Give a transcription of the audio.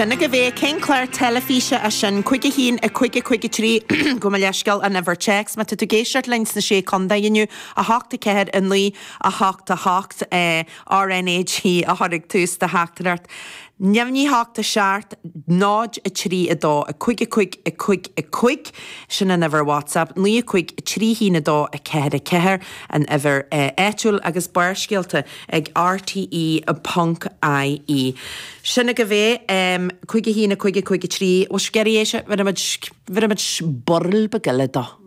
Sin agaibh é. Cén clár teilifíse é sin? 5 1 5 5 3 Gabh mo leithscéal an uimhir téacs. Má tá tú ag éisteacht linn sna Sé Contae inniu, 8 4 9 8 8 RNAG a chur ag tús do theachtaireacht. Neamhní 8 7 0 3 2 5 5 5 5, sin an uimhir WhatsApp, 9 5 3 1 2 4 4 an uimhir áitiúil agus Barrscéalta ag rte ponc ie. Sin agaibh é, 5 1 5 5 3, bhfuil sibh ag iarraidh é seo, bhéarfaimid, bhéarfaimid burl beag eile dó.